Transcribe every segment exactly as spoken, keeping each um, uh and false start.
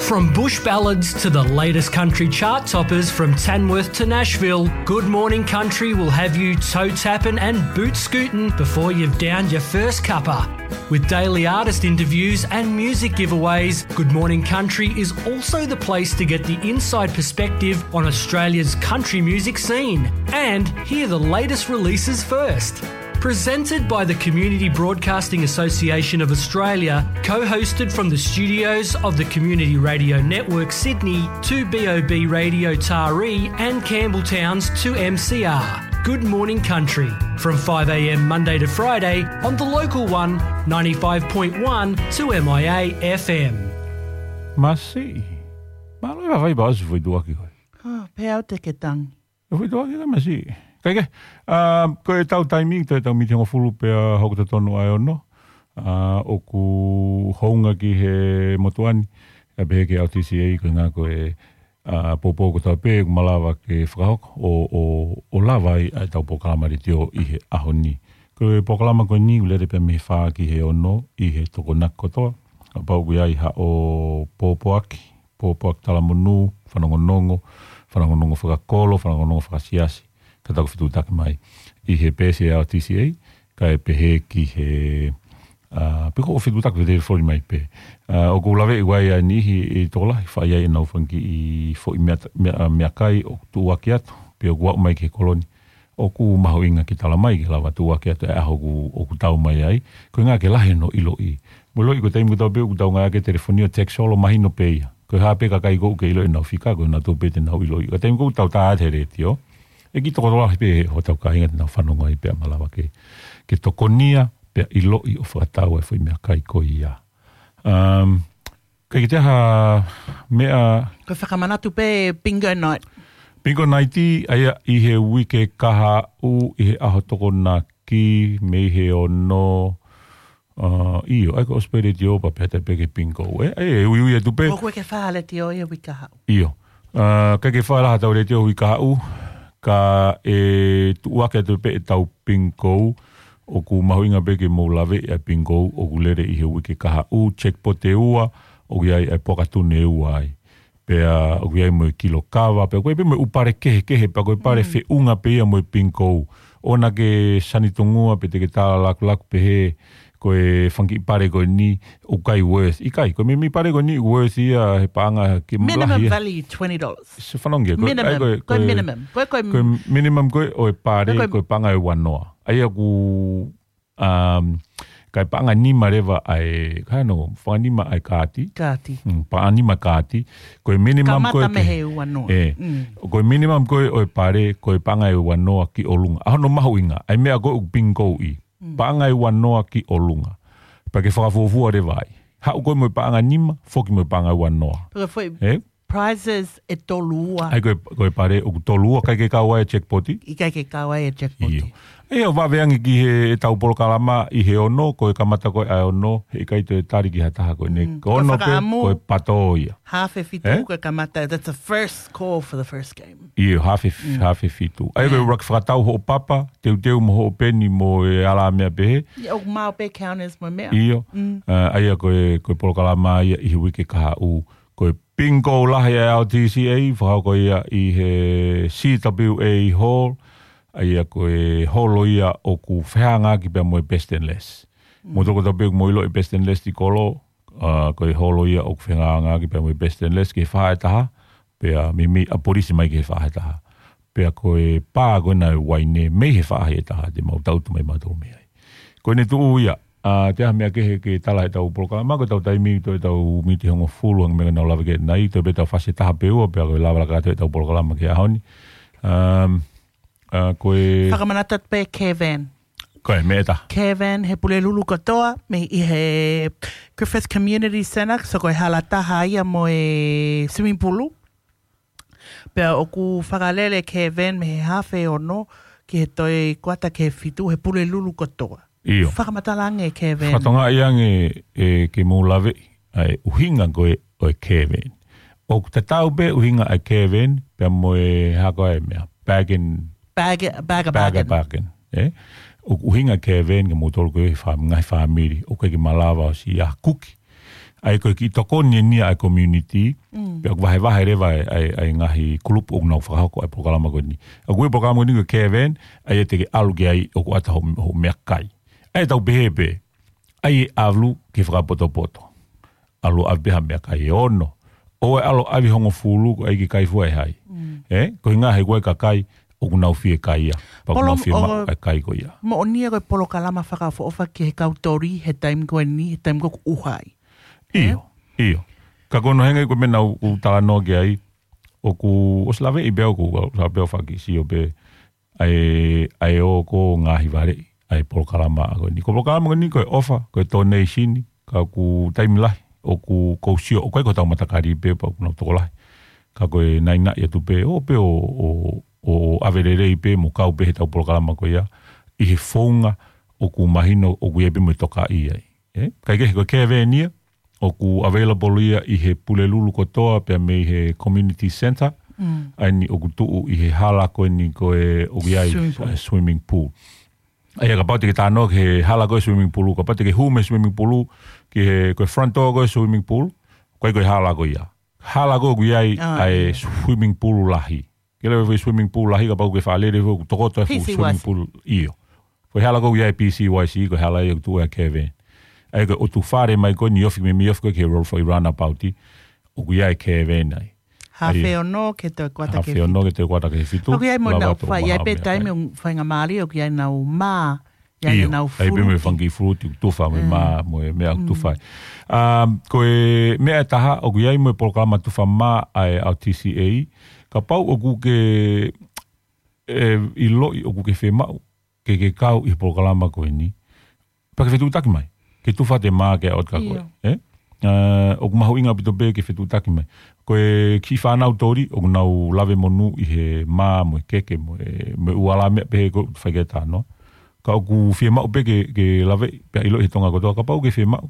From bush ballads to the latest country chart toppers, from Tamworth to Nashville, Good Morning Country will have you toe tapping and boot scooting before you've downed your first cuppa. With daily artist interviews and music giveaways, Good Morning Country is also the place to get the inside perspective on Australia's country music scene and hear the latest releases first. Presented by the Community Broadcasting Association of Australia, co-hosted from the studios of the Community Radio Network Sydney, two B O B Radio Taree and Campbelltown's two M C R. Good Morning Country, from five a.m. Monday to Friday on the local one, ninety-five point one two M I A F M. Māsiʻi. Mālō e vavai pā ʻosi foʻi tuʻuaki koe. Oh, pea au te ke tangi. E foʻi tuʻuaki ka māsiʻi. Kae kehe, ā, ko e tau taimi, toe tau miniti hongofulu pea hoko totonu ʻa e ono. Ā, ʻoku hounga ki he motuʻa ni, ʻa pehē ki he L T C A, ko e ngā ko e, ā, poupou ko tau pē, ʻoku malava ke fakahoko, ʻo, ʻo, ʻo lava ai ʻa e tau polokalama letiō ʻi he ʻaho ni. Ko e polokalama ko eni, ʻoku lele pē mei he fā ki he ono, ʻi he Tokonaki kotoa. Kapau ʻoku ʻi ai haʻo pōpoaki, pōpoaki talamonū, fanongonongo, fanongonongo fakakolo, fanongonongo fakasiasi, ka tau fetuʻutaki mai ʻi he peesi ʻa e L T C A, kae pehē ki he, ā, pe ko e fetuʻutaki pē te foli mai pē. Ā, ʻoku laveʻi ʻe au ʻa e niʻihi ʻe tokolahi, fai ai ʻenau fanga kiʻi foʻi meʻa, meʻa, meʻakai ʻoku tuʻuaki atu, pe ʻoku aʻu mai ki he kolo ni. ʻOku mahuʻinga ke tala mai ke lava tuʻuaki atu e ʻaho ʻoku, ʻoku tau mai ai. Ko e ʻuhinga ke lahi hono ʻiloʻi. Mo e ʻiloʻi ko e taimi ko ē tau pē ʻoku tau ngāueʻaki e telefoni ʻo text solo mahino pē ia. Ko e hā pē kakai ʻoku ke ʻilo ʻenau fika, ko ʻenau tō pē te nau ʻiloʻi. Ko e taimi ko ē ʻoku tau tā atu he letiō, ʻe kiʻi tokolahi pē hotau kāinga te nau fanongo ai pea malava ke, ke tokonia, pea ʻiloʻi ʻo fakatau e foʻi meʻakai ko ia. Um, Kae kiʻi taha meʻa. Ko e fakamanatu pē bingo night. Bingo night ʻi, ʻa ia ʻi he uike kahaʻu ʻi he ʻaho Tokonaki mei he ono, ā, ʻio, ʻai ko e ʻosi pē letiō pea pehē pē ki he bingo, ē? ʻAi, e uiui atu pē. ʻOku ʻikai ke fai ha letiō ʻi he uike kahaʻu. ʻIo. Ā, ʻikai ke fai ha letiō uike kahaʻu, kae tuʻuaki atu pē ʻetau bingo, ʻoku mahuʻinga pē ke mou laveʻi ʻa e bingo, ʻoku lele ʻi he uike kahaʻu, jackpot ʻe ua, ʻoku ʻi ai ʻa e pokatune ʻe ua ai. Pea ʻoku ʻi ai mo e kilo kava, pea ʻoku ʻi ai pē mo e ʻū pale kehekehe, pea ko e pale Mm. feʻunga pē ia mo e bingo. ʻOua naʻá ke sanitungua pe te ke tala lakulaku pehē, ko e fanga kiʻi pale ko eni, ʻoku ʻikai worth. ʻIkai, ko e meimei pale ko eni worth ia he paʻanga ke Minimum lahi ia. value, twenty dollars. Se fanongo ia, ko e, Minimum, ʻai ko e, ko e ko e, minimum. Ko e, ko e ko e minimum ko ē ʻo e pale, Ko e ko e paʻanga ʻe ua noa. ʻA ia ʻoku, um, ka e paʻanga nima leva ʻa e, ka no, fanga nima ʻa e kaati. Kaati. Mm, paʻanga nima kaati. Ko e minimum Kamata ko ē mei ke he ua noa. ʻE. Mm. Ko e minimum ko ē ʻo e pale, ko e paʻanga ʻe ua noa ki ʻolunga. ʻA hono mahuʻinga, ʻa e meʻa ko ē ʻoku bingo ʻi. Mm. Paʻanga ʻe ua noa ki ʻolunga. Pea ke fakafuofua leva ai. Haʻu koe mo e paʻanga nima, foki mo e paʻanga ʻe ua noa. Pea foʻi Ē? prizes ʻe tolu ua. ʻAi ko e, ko e pale ʻoku tolu ua, ʻikai ke kau ai e jackpot. ʻIkai ke kau ai e jackpot. ʻIo. ʻE ʻo vave ange ki he ʻetau polokalama ʻi he ono, ko e kamata ko ē ʻa e ono, heʻikai toe tali ki ha taha ko eni. Mm. Ko e Ko e ono pē, fakaʻamu. ko e pato ia. Hafe fitu Ē? ko e kamata, that's the first call for the first game. ʻIo, hafe, Mm. hafe fitu. ʻAi ko e Yeah. ʻuluaki fakatau hoʻo papa, teuteu mo hoʻo peni mo e ala meʻa pehē. ʻIo, ʻoku maʻu pē counters mo e meʻa. ʻIo. Mm. Ā, ʻa ia ko e, ko e polokalama ia ʻi he uike kahaʻu. Ko e bingo lahi ʻa e L T C A, fakahoko ia ʻi he C W A Hall. ʻA ia ko e holo ia ʻoku fehangahangai pea mo e Best and Less. Mm. Mou toki tau pē ʻoku mou ʻilo e Best and Less ʻi kolo, ā, ko e holo ia ʻoku fehangahangai pea mo e Best and Less ki he faʻahi ʻe taha, pea meimei ʻapolisi mai ki he faʻahi ʻe taha. Pea ko e pā ko ena ʻo e uaine mei he faʻahi ʻe taha te mau tautu mai mautolu mei ai. Ko ʻene tuʻu ia, ā, te aha meʻa kehe ke tala ʻetau polokalama, ko ʻetau taimi toe ʻetau miniti hongofulu hangē ko e meʻa naʻá ku lave ki ai ʻanenai, toe pē ʻetau fasi ʻe taha pe ua, pea ko e lava laka atu ʻetau polokalama ki he ʻaho ni. Um, ā, ko e Fakamanatu atu pē Care Van. Ko e meʻa ʻe taha. Care Van, he Pulelulu kotoa, mei ʻi he Griffith Community Centre, so ko e hala taha ia mo e swimming pool. Pea ʻoku fakalele Care Van mei he hafe ono ki he toe kuata ki he fitu, he Pulelulu kotoa. ʻIo. Fakamatala ange Care Van. Fakatokangaʻi ange ē ke mou laveʻi ʻa e ʻuhinga ko ē ʻo e Care Van. ʻOku tatau pē ʻuhinga ʻa e Care Van, pea mo e hā ko ā e meʻa. Bag and Bag, bag a bag a bargain. bargain, ē? ʻOku ʻuhinga Care Van ke moutolu ko ē he fā-, ngaahi fāmili, ʻoku ʻikai ke malava ʻo siʻi ʻā kuki. ʻA ia ko e kiʻi tokoni eni ia ʻa e community, pea ʻoku vahevahe leva ʻa e, ʻa e, ʻa e ngaahi kulupu ʻoku nau fakahoko ʻa e polokalama ko eni. ʻOku ʻi ai e polokalama ko eni ko e Caravan, ʻa ia te ke ʻalu ki ai ʻoku ʻata hoʻo, hoʻo meʻakai. ʻA ia tau pehē pē, ʻa ia ʻalu ke fakapotopoto. ʻAlu ʻave pē ha meʻakai ʻe ono. ʻOua ʻe ʻalu ʻave hongofulu ko ē ke kai fua ʻe hai. Ē? Ko e ʻuhinga he ko e kakai, ʻoku nau fie kai ia. Pea ʻoku nau fie maʻu ʻa e kai ko ia. Moʻoni ia ko e polokalama fakaʻofoʻofa ki he kau tori, he taimi ko eni, he taimi ko ē ʻoku ʻuha ai. ʻIo, ʻio. Ka ko hono ʻuhinga ko e meʻa naʻa ku talanoa ki ai, ʻoku ʻosi laveʻi pē ʻoku, ʻoku laveʻi pē ʻo fakasio pē, ʻa e, ʻa e ō ko ē ngaahi valeʻi, ʻa e polokalama ko eni. Ko e polokalama ko eni ko e ʻofa, ko e donation, ka ʻoku taimi lahi, ʻoku ou sio, ʻoku ʻikai ko hotau matakali pē, pea ʻoku nau tokolahi. Ka ko e naʻinaʻi atu pē, ō pē ʻo, ʻo, ʻo ʻave lelei pē, mo kau pē heʻetau polokalama ko ia, ʻi he founga ʻoku mahino, ʻoku ʻi ai pē mo e tokaʻi ai. Ē? Kae kehe ko e Caravan ia, ʻoku available ia ʻi he Pulelulu kotoa pea mei he community centre, ʻa eni ʻoku tuʻu ʻi he hala ko eni ko ē ʻoku ʻi ai ʻa e swimming pool. ʻA ia kapau te ke talanoa ki he hala ko ē swimming pool, kapau te ke hū mei he swimming pool, ki he, ko e front door ko ē swimming pool, ʻoku ʻikai ko e hala ko ia. Hala ko ē ʻoku ʻi ai ʻa e swimming pool lahi. Ke lava e swimming pool lahi kapau ke fakalele ʻoku tokoto e fuʻu swimming pool ʻio. Ko e hala ko ē ʻoku ʻi ai e P C Y C, ko e hala ia ʻoku tuʻu ai e Caravan. ʻA ia ko e ʻotu fale mai ko eni ofi mei, mei ofi ko ē ki he Rolls Royce Runabout, ʻoku ʻi ai e Caravan ai. Hafe ono ki he toe kuata ki he fitu. Hafe ono ki he toe kuata ki he fitu. ʻOku ʻi ai mo nau fai ai pē taimi ʻoku faingamālie ʻoku ʻi ai nau mā ʻIo, ʻa ia pē mo e funky fruit, tufa mo e mā, mo e meʻa tufa. Um, ko e meʻa ʻe taha, ʻoku ʻi ai mo e polokalama tufa mā ʻa e R T C A, kapau ʻoku ke, ʻe, ʻiloʻi ʻoku ke fiemaʻu, ke ke kau ʻi he polokalama ko eni. Pea ke fetuʻutaki mai, ke tufa atu e mā ki he ʻaho ʻo e taʻu ko ē, ʻio. Ē? ʻA, ʻoku mahuʻinga ʻaupito pē ke fetuʻutaki mai. Ko e kiʻi fānau tori, ʻoku nau lave monū ʻi he mā mo e keke mo e, mo e ʻū ala meʻa pehē ko ē ʻoku fai ki ai e talanoa. Ka ʻoku fiemaʻu pē ke, ke lave, pea ʻiloʻi he Tonga kotoa, kapau ʻoku ke fiemaʻu.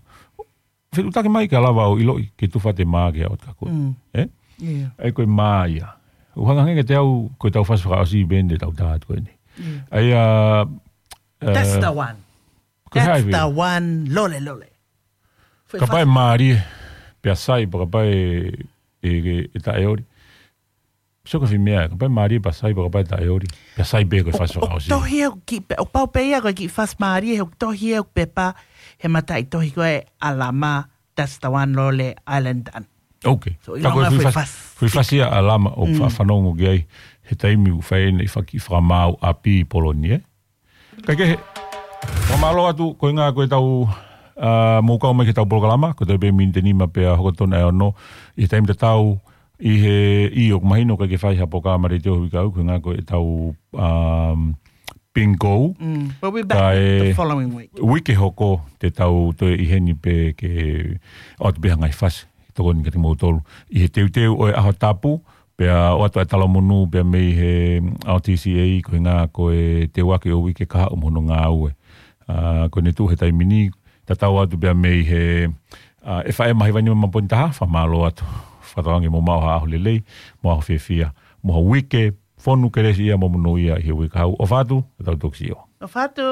Fetuʻutaki mai ke lava ʻo ʻiloʻi, ke tufa atu e mā ki he ʻaho ʻo e taʻu ko ē. Mm. Ē? ʻIo. ʻA ia ko e mā ia. ʻOku hangē kiate au, ko ʻetau fasi fakaʻosi pē eni ʻetau tā atu ko eni. ʻIo. ʻA ia, That's ē, the one. Ko e That's hai the one, Lole Lole. Kapau ʻe mālie, pea sai, pea kapau ʻe, ʻe, ʻe, ʻe taʻeoli. Sio ko e fai meʻa, kapau ʻe mālie, pea sai, pea kapau ʻe taʻeoli. Pea sai pē ko e fasi fakaʻosi. ʻOku tohi ʻeku kiʻi pe-, ʻoku pau pē ia ko e kiʻi fasi mālie, he ʻoku tohi ʻeku pepa, he mataʻitohi ko ē ʻa Lama, That's the one, Lole, Island Done. Ok. So, ka ko e ʻilonga fuʻu fasi, fasi, fuʻu fasi ia ʻa Lama ʻoku fa-, fanongo ki ai, he taimi ʻoku fai ʻene fakamaau ʻapi ʻi Poloni, ē? Kae kehe, fakamālō atu, ko e ʻuhinga ko ʻetau, ā, mou kau mai ki heʻetau polokalama, ko e toe pē miniti ʻe nima pea hoko tonu ʻa e ono, ʻi he taimi tatau, ʻi he, ʻio ʻoku mahino ʻikai ke fai ha polokalama letiō he uike ʻo aʻu, ko e ʻuhinga ko ʻetau, um, bingo. Mm, we'll be back the following week. Kae uike hoko te tau toe ʻi heni pē ke ʻoatu pē ha ngaahi fasi, tokoni kiate kimoutolu. ʻI he teuteu ʻo e ʻaho tapu, pea ʻoatu ʻa e talamonū pea mei he R T C A, ko e ʻuhinga ko e teuaki ʻo e uike kahaʻu mo hono ngāue. Ā, ko ʻene tuʻu he taimi ni, tatau atu pea mei he, ā, ʻe faʻē mahi vaini ma poini taha, fakamālō atu. Fakatauange mou maʻu ha ʻaho lelei, mo ha ʻaho fiefia, mo ha uike, fonu kelesi ia mo monū ia ʻi he uike kahaʻu. ʻOfa atu, ʻe tau toki sio. ʻOfa atu.